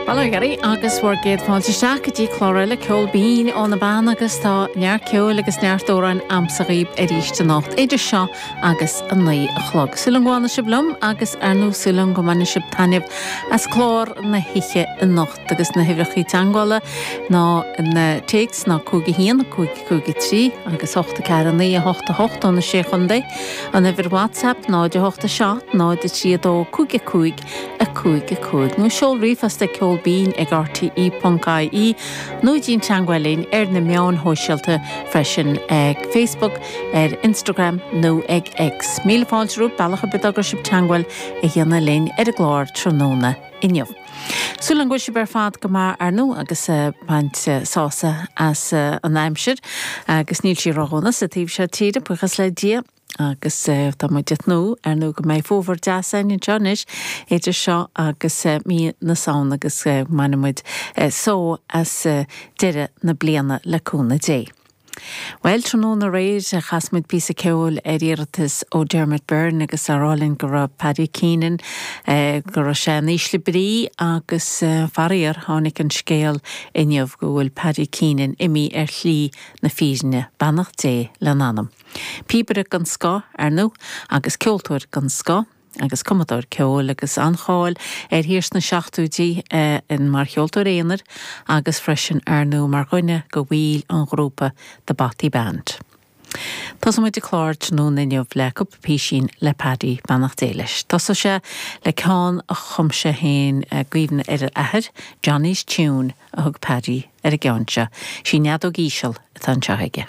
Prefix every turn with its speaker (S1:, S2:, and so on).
S1: Bail ó Dhia oraibh agus bhur gcéad fáilte isteach go dtí clár eile Ceol Binn ó na Beanna agus tá neart ceoil agus neart amhráin a'msa dhaoib arís anocht idir seo agus a 9 a chlog. Súil agam go bhfanfaidh sibh liom agus ar ndóigh súil agam go mbainfidh sibh taitneamh as clár na hoíche anocht agus na huimhreacha teagmhála ná na téacs ná 5 1 5 5 3 agus 8 4 9 8 8 ó na Sé Chontae. An uimhir WhatsApp 0 8 7 0 3 2 5 5 5 5 nó seol ríomhphost ag ceolbinn ag rte.ie nó déan teagmháil linn ar na meáin shóisialta freisin ag Facebook, ar Instagram nó ag X. Míle fáilte romhaibh bealach ar bith dá gcuir sibh teagmháil a dhéanamh linn ar an gclár tráthnóna inniu. Súil agam go bhfuil sibh ar fad go maith ar ndóigh agus ag baint sásamh as an aimsir agus níl sí ródhona sa taobh seo tíre, buíochas le Dia. Agus tá muid ag tnúth, ar ndóigh, go mbeidh fómhar deas againn anseo anois idir seo agus mí na Samhna agus go mbainfidh muid só as deireadh na bliana le cúnamh Dé. Bhuel, tráthnóna aréir, chas muid píosa ceoil ar iarratas ó Dermot Byrne agus á rá linn go raibh Paddy Keenan, go raibh sé in ísle brí agus faraor, tháinig an scéal inniu go bhfuil Paddy Keenan imithe ar shlí na fírinne, beannacht Dé lena anam. Píobaire den scoth, ar ndóigh, agus ceoltóir den scoth, agus cumadóir ceoil, agus an-cháil air thiar sna seachtóidí mar cheoltóir aonair agus freisin, ar ndóigh, mar dhuine de bhaill an ghrúpa The Bothy Band. Tosóidh muid an clár tráthnóna inniu le cúpla písín le Paddy, beannacht Dé leis. Tosóidh sé le ceann a chum sé féin i gcuimhne ar a athair, Johnny's Tune a thug Paddy ar an gceann seo. Sí an fheadóg íseal atá anseo aige.